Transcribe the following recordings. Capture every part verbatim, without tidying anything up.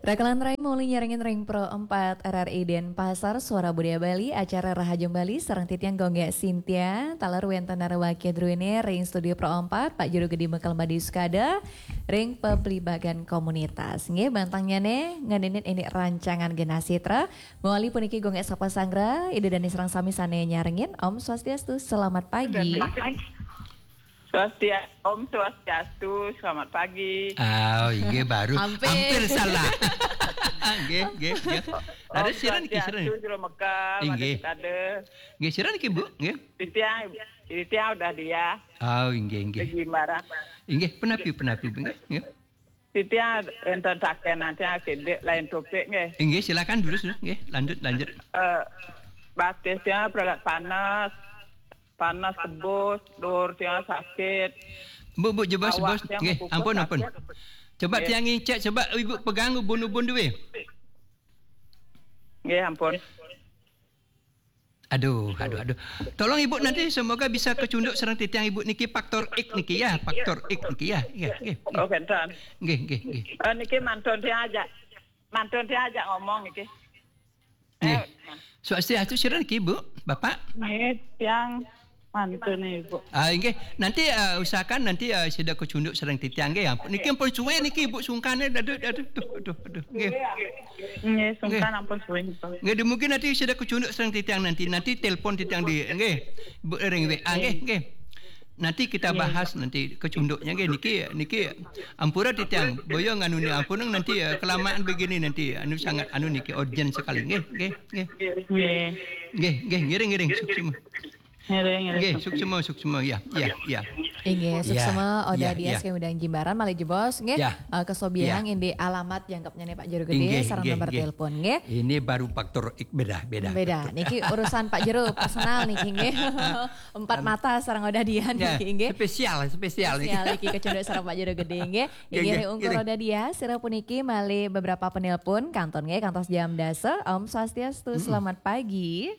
Rakelan rai muli nyarengin ring Pro empat R R I Denpasar, Suara Budaya Bali, acara Rahajeng Bali, sareng titiang Gung Gek Sintia, taler wenten narwaki druene ring Studio Pro empat, Pak Juru Gede Mekel Madi Sukada, ring Peblibagan Komunitas. Nggih, bantangnyane ngenenin ini rancangan Genah Sitra, mawali puniki Gung Gek Sapa Sanggra, Ida Dane sareng sami sane nyarengin, Om Swastiastu, selamat pagi. Swastiastu, Om Swastiastu, selamat pagi. Oh, inggih baru. Hampir. Hampir salah. Nggih, nggih, nggih. Ada Om siran niki, siran. Swastiastu, Jero Mekar, Inggih. Made Sekade. Nggih, siran niki, Bu, nggih. Titiang, titiang udah dia. Oh, inggih, inggih. Di Jimbaran. Inggih, punapi, punapi, Bu, nggih, nggih. Titiang enten saken nanti akedik lain topik nggih. Inggih, silakan terus, terus, nggih. Lanjut, lanjut. Eh, batis tiang peregat panas, panas tebus, dur tiang sakit. Bu, Bu, jebos, Awak bos. Tiang Nggih, bekukus ampun, ampun. Sakit. Coba Nggih. Tiang ngicek, coba Ibu pegang ubun-ubun duwe. Nggih, ampun. Aduh, aduh, aduh. Tolong Ibu nanti semoga bisa kecunduk sareng titiang Ibu niki faktor X niki ya, faktor X niki ya. Iya, nggih, nggih. Oh, kenten. Nggih, nggih, nggih. Eh, niki mantun tiang ajak. Mantun tiang ajak ngomong niki. Nggih. Eh, Swastiastu, siran niki, Bu, Bapak? Nggih, tiang mantun, Ibu. Ah, nggih. Nanti, eh, usahakan nanti, eh, sida kecunduk sareng titiang nggih. Ampun. Niki ampun suwe niki, Ibu, sungkan, aduh, aduh, aduh, aduh, aduh. Nggih. Nggih, sungkan Nggih. Ampun suwe, Ibu. Nggih, mungkin nanti sida kecunduk sareng titiang nanti. Nanti telepon titiang di, nggih. Bu, ring W A, nggih, nggih. Nanti kita Nggih. Bahas nanti kecunduknya nggih niki, niki ampura titiang boyo nganu ni ampun nanti, eh, kelamaan begini nanti anu sangat anu niki urgent sekali nggih, nggih, nggih. Nggih. Nggih, nggih, ngiring, ngiring, suksma. Ngiring, ngiring, Nggih, suksma. Suksma, suksma, ya, ya, ya. Inggih, Ya, suksma, Oda ya, Dias ya. Kami udang Jimbaran, malih jebos, nggih. Ya. Eh, kesobihan Ya. Indi alamat jangkepnya nih Pak Jero Gede, Inggih, sareng inggih, nomor inggih. Telepon, nggih. Ini baru faktor ik-, beda, beda, Beda, beda. Niki urusan Pak Jero, personal niki, nggih. Empat Am-, mata sareng Oda Dian ya, niki, nggih. Spesial, spesial niki. Spesial niki kecunduk sareng Pak Jero Gede, nggih. Nggih, Inggih, nggih, ungkur nggih. Roda Dia, sira puniki malih beberapa penelpon, kantun, nggih, kantos jam dasa. Om Swastiastu, Mm-mm. Selamat pagi.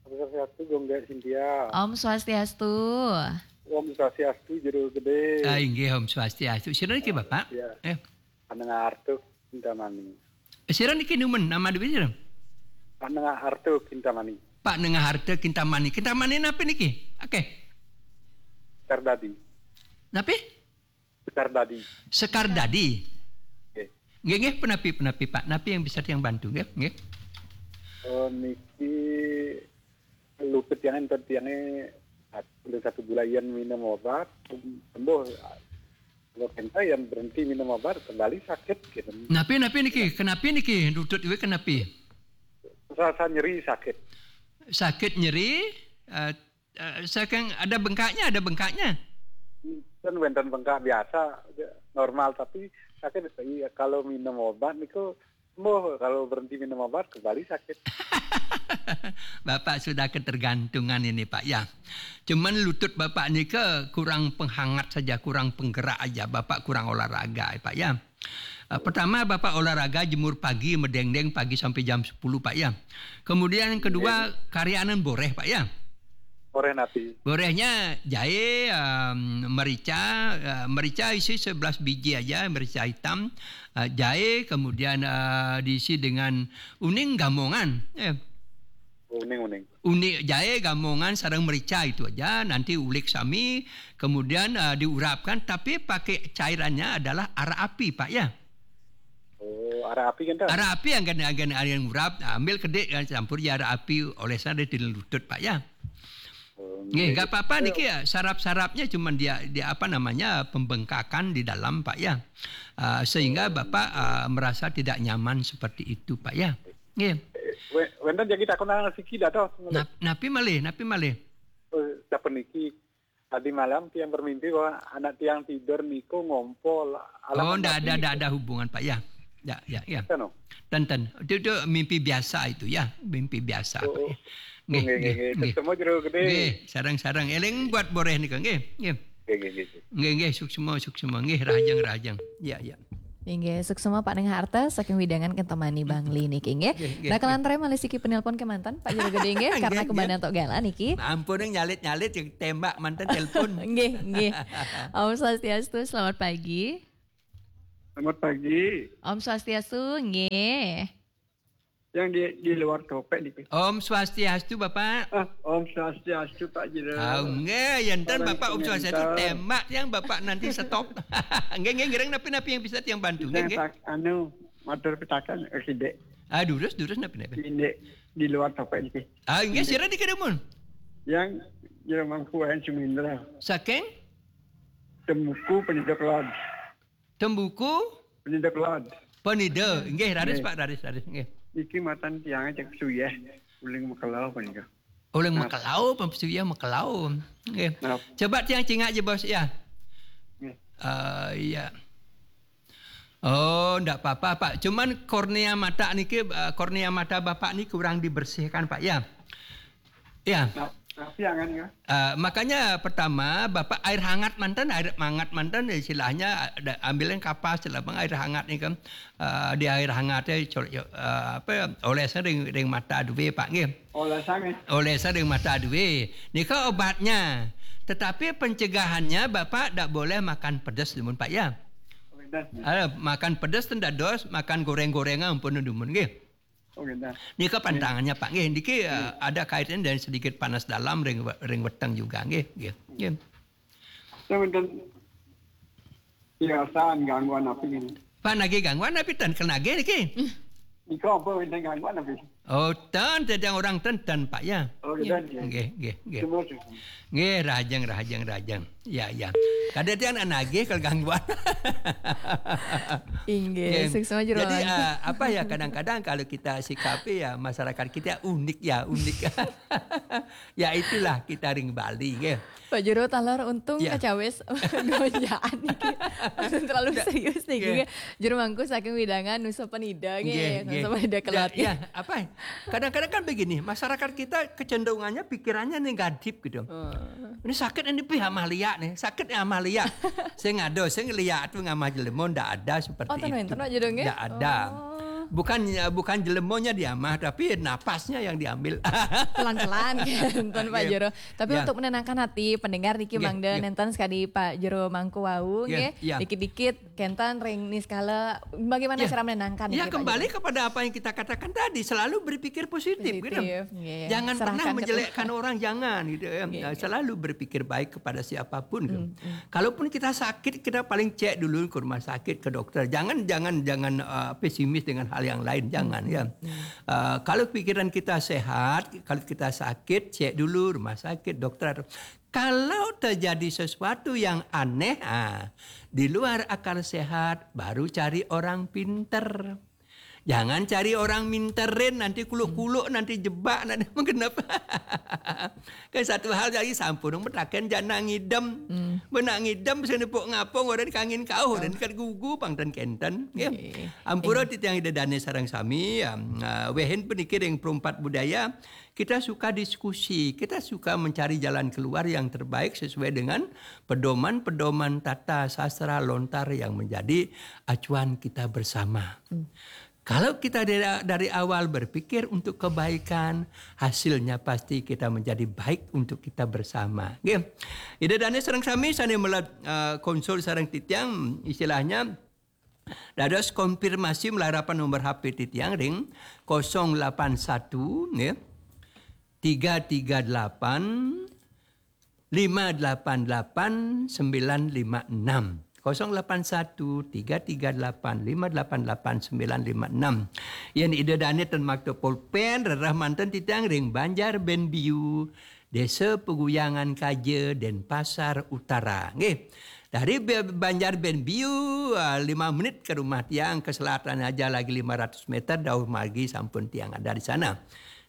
Om Swastiastu, Gung Gek Sintia. Om Swastiastu. Om Swastiastu, Jero Gede. Ah, inggih, Om Swastiastu. Sira niki, Bapak? Ya. Eh. Panengah Artuk, Kintamani. Sira niki numen nama dewi sira? Pak Nengah Harta Kintamani. Pak Nengah Harta Kintamani. Kintamani napa niki? Oke. Sekardadi. Napa? Sekardadi. Sekardadi. Nggih. Nggih, nggih, penapi, penapi, Pak. Napi yang bisa yang bantu, nggih, nggih. Oh, niki luput yang enten tiangnya satu, satu bulan yang minum obat, sembuh. Kalau kita yang berhenti minum obat, kembali sakit gitu. Napi, napi niki? Kenapi niki? Lutut ibu kenapi? Rasa nyeri sakit. Sakit nyeri, eh, eh, saking ada bengkaknya, ada bengkaknya. Kan wenten bengkak biasa, normal, tapi sakit. Iya, kalau minum obat niku sembuh, kalau berhenti minum obat kembali sakit. Bapak sudah ketergantungan ini, Pak, ya. Cuman lutut Bapak nika kurang penghangat saja, kurang penggerak aja. Bapak kurang olahraga, Pak, ya. Eh, pertama, Bapak olahraga jemur pagi, medengdeng pagi sampai jam sepuluh, Pak, ya. Kemudian yang kedua, iya, iya, karyanan boreh, Pak, ya. Boreh napi? Borehnya jahe, em, merica, eh, merica isi sebelas biji aja, merica hitam, eh, jahe, kemudian, eh, diisi dengan uning gamongan. Eh. Uning, uning. Uning jahe, gamongan, sareng merica itu aja. Nanti ulik sami, kemudian, eh, diurapkan, tapi pakai cairannya adalah araq api, Pak, ya. Oh, araq api kan, Tan? Araq api yang kan, yang kan, yang urap, ambil kedik, ya, campur ya araq api, olesnya ada di lutut, Pak, ya. Oh, nggih, nggih, nggak apa-apa niki ya, sarap-sarapnya cuman dia, dia apa namanya, pembengkakan di dalam, Pak, ya. Ah, sehingga Bapak, ah, merasa tidak nyaman seperti itu, Pak, ya. Nggih. Eh, we-, wenten jagi takonan siki dados. Nap-, napi malih, napi malih? Eh, sapuniki, tadi malam tiang bermimpi bahwa anak tiang tidur niku ngompol. Alamat Oh, ndak ada, napi ndak niku? Ada hubungan, Pak, ya. Ya, ya, ya. Kan, oh? Ten, ten. Itu, itu mimpi biasa itu, ya. Mimpi biasa, Pak, Oh, ya. Nggih, nggih, nggih, nggih, nggih. Ketemu Jero Gede. Nggih, sareng-sareng. Eling buat boreh nika, nggih, nggih. Nggih, nggih, nggih. Nggih, nggih, suksma, suksma. Nggih, rahajeng, rahajeng. Ya, ya. Inggih, suksma Pak Neng Harta, saking wewidangan Kintamani Bangli niki, nggih. Nggih, nggih, Nah, nggih. Kalangan malih siki penelpon kemanten, Pak Jero Gede, nggih, karena Nggih, nggih. Kebananto gala niki. Ampun, nyalit-nyalit, yang tembak manten telepon. Nggih, nggih. Om Swastiastu, selamat pagi. Selamat pagi. Om Swastiastu, nggih. Yang di di luar topik niki. Om Swastiastu Bapak. Ah, Om Swastiastu Pak Jero. Oh, nggih, yen ten Orang Bapak Om Swastiastu komentar. Tembak tiang Bapak nanti stop. Nggih, nggih, ngiring napi-napi yang bisa tiang bantu. Nggih, Yang nggih. tak anu, matur pitaken eh, sidik. Ah, durus, durus napi-napi. Sidik di luar topik niki. Ah, nggih, sira niki dumun. Yang Jero Mangku Wayan Sumindra. Saking Tembuku Penida Kelod. Tembuku Penida Kelod. Penida. Nggih, raris Nggih. Pak, raris, raris. Nggih. Niki matan tiang cek suyeh uling mekelau punika. Uling mekelau, apa suyah mekelau. Nggih. Nah, Coba tiang cingak je bos ya. Nggih. Eh, iya. Oh, ndak apa-apa Pak. Cuman kornea mata niki eh, kornea mata Bapak ni kurang dibersihkan Pak ya. Ya. nah, tapi jangan ya. Eh, makanya pertama Bapak air hangat mantan, air hangat mantan istilahnya ada ambilin kapas lah bang air hangat ni kan. Eh, di air hangat ya col- eh, apa ya, olesnya ring ring mata duwe Pak nggih. Olesane. Olesnya ring mata duwe. Nika obatnya. Tetapi pencegahannya Bapak tidak boleh makan pedas dumun Pak ya. Oke dah. Ada makan pedas ten dados, makan goreng-gorengan ampun dumun nggih. Oke dah. Nika pantangannya Pak nggih. Niki eh, ada kaitannya dengan sedikit panas dalam ring ring weteng juga nggih. Nggih. Nggih. Sebentar. Biasaan gangguan apa ini? Pak nagih gangguan apa ten kenagih niki? Iko apa ini gangguan apa? Oh, ten tedang orang ten ten Pak ya. Oh, iya, iya. Nggih, nggih, nggih. Semua. Nggih, rahajeng rahajeng rahajeng. Ya, ya. Kada tiang nagih kalau gangguan. Inggih, Nggih. suksma jero. Jadi eh, apa ya kadang-kadang kalau kita sikapi ya masyarakat kita unik ya, unik. Ya itulah kita ring Bali nggih. Pak Jero taler untung Ya. kacawis gonjaan niki. Terlalu serius niki. Nggih. Jero Mangku saking widangan Nusa Penida Nggih, nggih. nggih. Nusa Penida Ya, Kelod. ya, apa? Kadang-kadang kan begini, masyarakat kita kecenderungannya pikirannya negatif gitu. Oh. Ini sakit ini pih amah liak nih, sakit ya amah liak. Saya ngado, saya ngeliat tuh ngamah jelema ndak ada seperti Oh, ten itu. wenten, Pak Jero, nggih? Ndak ada. Oh. Bukan bukan jelemanya diamah tapi napasnya yang diambil. Pelan-pelan kenten Pak Nggih. Jero. Tapi Ya. Untuk menenangkan hati pendengar niki Nggih, mangda nggih. Nenten sekali Pak Jero Mangku wau Nggih, nggih. ya. Dikit-dikit kenten ring niskala bagaimana Ya. cara menenangkan Ya niki, Pak kembali Jero? Kepada apa yang kita katakan tadi, selalu berpikir positif, gitu. Positif, nggih. Jangan Serahkan pernah ke menjelekkan Tuhan. Orang, jangan gitu ya. Nggih, Nah, nggih. Selalu berpikir baik kepada siapapun gitu. Hmm, hmm. Kalaupun kita sakit, kita paling cek dulu ke rumah sakit, ke dokter. Jangan jangan jangan uh, pesimis dengan hal yang lain, jangan ya. Hmm. Uh, kalau pikiran kita sehat, kalau kita sakit, cek dulu rumah sakit, dokter. Kalau terjadi sesuatu yang aneh, ah, di luar akal sehat, baru cari orang pinter. Jangan cari orang minterin, nanti kuluk-kuluk, nanti jebak, nanti menggenep. Kan satu hal lagi sampun metaken jana ngidem. Hmm. Benak ngidem bisa nepuk ngapung orang kangin kauh dan kat gugu pang dan kenten. Ya. Nggih. Ampura titiang ida dane sarang sami, ya, uh, wehin peniki ring perumpat budaya, kita suka diskusi, kita suka mencari jalan keluar yang terbaik sesuai dengan pedoman-pedoman tata sastra lontar yang menjadi acuan kita bersama. Kalau kita dari, dari awal berpikir untuk kebaikan, hasilnya pasti kita menjadi baik untuk kita bersama. Nggih. Ida dane sareng sami sane melat uh, konsul sareng titiang istilahnya dados konfirmasi melarapan nomor H P titiang ring kosong lapan satu nggih. Tiga tiga delapan lima delapan delapan sembilan lima enam. Kosong lapan satu tiga tiga delapan lima delapan delapan sembilan lima enam. Yen ida dane ten makta pulpen rerah manten titiang ring Banjar Benbiu, Desa Peguyangan Kaja, Denpasar Utara. Nggih. Dari Be- Banjar Benbiu, ah, lima menit ke rumah tiang ke selatan aja lagi lima ratus meter dauh margi sampun tiang ada di sana.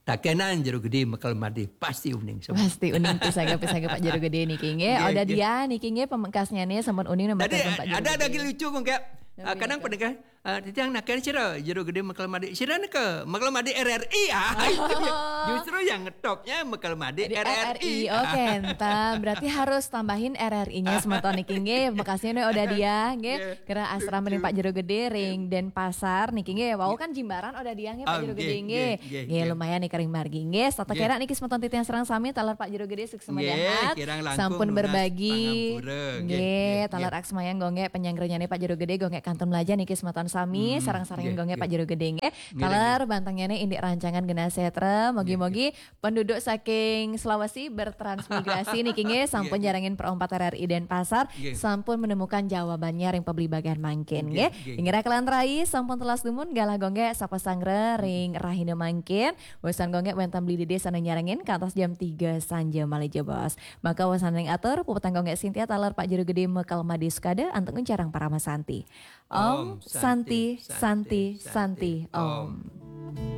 Takenan Jero Gede Mekel Madi pasti uning semua. Pasti uning pisaga-pisaga Pak Jero Gede niki nggih. Nggih, Ada nggih. Dia niki nggih pemekasnya nih sampun uning nomor Tadi telepon Pak Jero ada Gede. Lagi lucu kok nggak? Nabi Ah, kadang Nata. pendengar Eh, titiang naken sira, Jero Gede Mekel Made. Sira neka Mekel Made R R I, ah, itu dia. Justru yang ngetopnya Mekel Made Di R R I. R R I, oke, entah. Berarti harus tambahin R R I-nya semeton niki nggih. Makasih nih Oda Diah nggih. Nggih. Kira asrama ring Pak Jero Gede ring Denpasar niki nggih. Wau kan Jimbaran Oda Diah nggih Pak Ah, Jero nggih, Gede nggih. nggih, nggih, Nggih, nggih. lumayan nih kering margi nggih. Tata Nggih. Kira niki semeton titiang sareng sami taler Pak Jero Gede suksma Nggih, dahat. Kirang langkung Sampun nunas berbagi. Pangampura, nggih, Nggih, nggih, taler nggih. Aksmayang gonggé penyangrenyane Pak Jero Gede gonggé kantun melaja niki semeton sami, Hmm, sareng-sareng nggih, gonggé nggih. Pak Jero Gede nggih. Nggih, Taler bantangane Indik Rancangan Genah Sejahtera, mogi-mogi penduduk saking Sulawesi bertransmigrasi niki nggih sampun Nggih, nggih. Jarangin Perompat R R I Denpasar Nggih. Sampun menemukan jawabannya ring pabligbagan mangkin Nggih, nggih. nggih. Inggih kalawan rai sampun telas dumun galah gonggé sapa sanggra ring rahina mangkin. Wesan gonggé wénten Beli Dede sané nyarengin kantos jam tiga sanja malih jebos. Maka wesan ring atur puputang gonggé Sintia taler Pak Jero Gede Mekel Made Sukada antuk nguncarang Parama Santi. Om Om Santi Santi, Santi Santi, Santi Om. Om.